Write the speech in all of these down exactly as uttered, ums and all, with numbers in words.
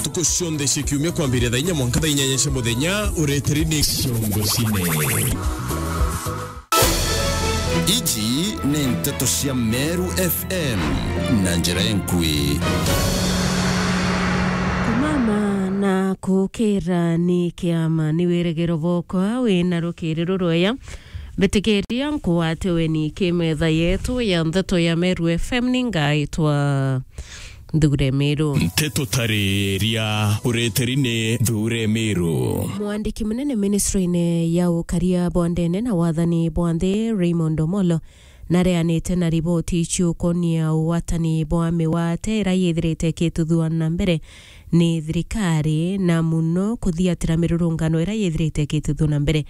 Ntuku cionthe cia kiumia kwambiria thaa inya mwanka thaa inyanya cia muthenya, ureteri ni Ciongo Cine. Iji ni nteto cia Meru F M na njira enkui. Kumama na kukira ni kiama, ni wirigiro bwokwa wina rukiri rurweya. Mbitikiria nkuwate weni ki metha yetu ya nteto ya Meru F M, ni ngaitwa Nthure Miru. Nteto tariria ureteri ni Nthure Miru. Mwandiki munene ministry-ini ya ukaria bwa ndene na wathani bwa nthi, Raymond Omolo, nareanite na riboti ciukonia ugwatani bwa miwate ira yithirite ikituthua na mbere ni thirikari, na muno kuthiatira mirurungano ira yithirite ikituthua na mbere.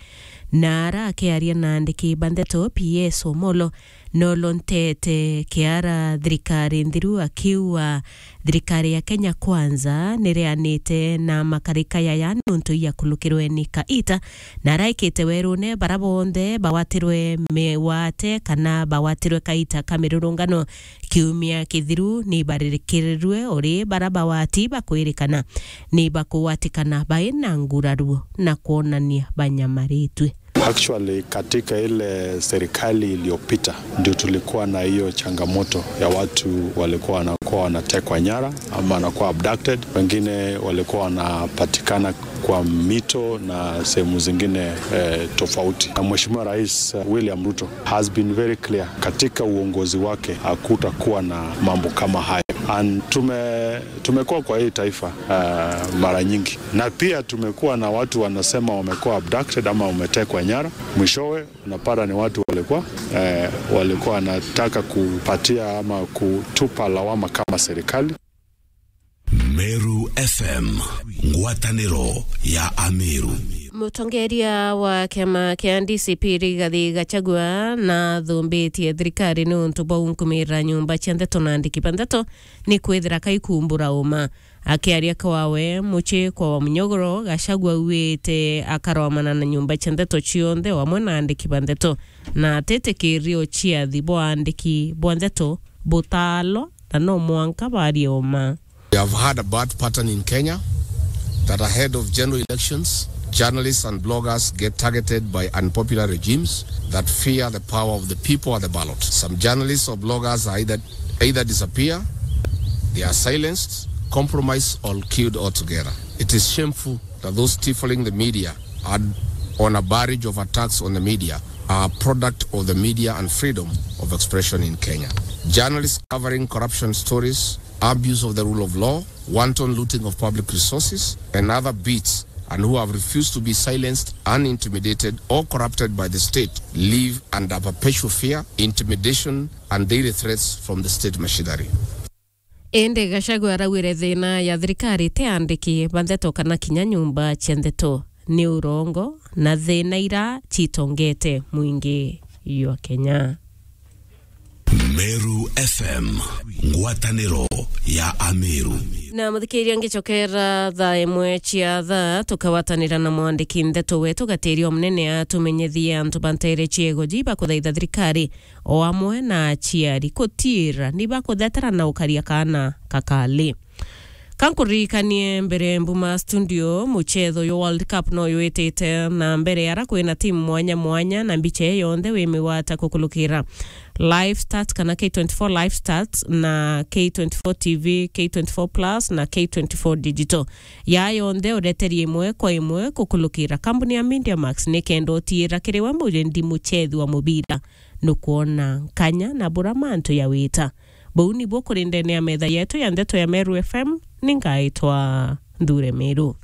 Na ara akiaria na andiki ba nteto, P S Omolo, nolo ntete kiara thirikari nthiru, akiuga thirikari ya Kenya Kwanza nireanite na makarika yaya nuntu iakulukirwe ni kaita, na araikite werune bara bonthe bawatirwe miwate kana bawatirwe kaita ka mirurungano kiumia kithiru ni baririkirirwe, uri bara bawati bakwirikana ni bakuwatikana bai na nguraruo na kwonania banyamaritwe. Actually, katika ile serikali iliyopita ndio tulikuwa na hiyo changamoto ya watu walikuwa wanakuwa wanatekwa nyara ama wanakuwa abducted, wengine walikuwa wanapatikana kwa mito na sehemu zingine, eh, tofauti. Na Mheshimiwa Rais, eh, William Ruto has been very clear katika uongozi wake, hakutakuwa na mambo kama hayo. And tume-, tumekuwa kwa hii taifa, eh, mara nyingi, na pia tumekuwa na watu wanasema wamekuwa abducted ama wametekwa nyara. Mwishowe unapata ni watu walikuwa, eh, walikuwa wanataka kupatia ama kutupa lawama kama serikali. Meru F M, ngwataniro ya Ameru. Mutongeria wa kiama kia D C P Rigathi Gachagua nathumbitie thirikari niuntu bwa unkumira nyumba cia nteto na andiki ba nteto ni kwithira kaikumbura uma. Akiaria kwawe mucii kwa wa Munyogoro, Gachagua auite akaromana na nyumba cia nteto cionthe o amwe na andiki ba nteto, na atitikirie uciathi bwa andiki bwa nteto butaalwa na no mwanka barie uma. We have had a bad pattern in Kenya that ahead of general elections, journalists and bloggers get targeted by unpopular regimes that fear the power of the people at the ballot. Some journalists or bloggers are either, either disappear, they are silenced, compromised, or killed altogether. It is shameful that those stifling the media are on a barrage of attacks on the media are a product of the media and freedom of expression in Kenya. Journalists covering corruption stories, abuse of the rule of law, wanton looting of public resources, and other beats, and who have refused to be silenced, unintimidated, or corrupted by the state, live under perpetual fear, intimidation, and daily threats from the state machinery. Indi Gachagua araugire thina ya thirikari ti andiki ba nteto kana kinya nyumba cia nteto, ni urongo na thina ira citongete mwingi jwa Kenya. Meru F M, ngwataniro ya Ameru. Na muthikiria, ngicokera thaa imwe cia thaa, tukawatanira na mwandiki nteto wetu Gatiria Omunene atumenyithie antu ba nteere ciego ji bakuthaitha thirikari o amwe na aciari kutiira ni bakuthetera na ukaria kaana kakali. Ka nkuririkanie mbere mbuma studio, mucetho jwa World Cup no jwitite na mbere, ara kwina timu mwanya mwanya, na mbicha ii yonthe wi migwata kukulukira Live Stats kana K twenty-four Live Stats na K twenty-four T V, K twenty-four Plus na K twenty-four Digital. Ya yonthe ureteri imwe kwa imwe kukulukira kambuni ya Media Max, nikenda utiira kiri we mujendi mucethi wa mubira. Nukwona nkanya na bura mantu ya wita. Buu nibuo kuri ndene ya metha yetu ya ndeto ya Meru F M, ni ngaitwa Nthure Miru.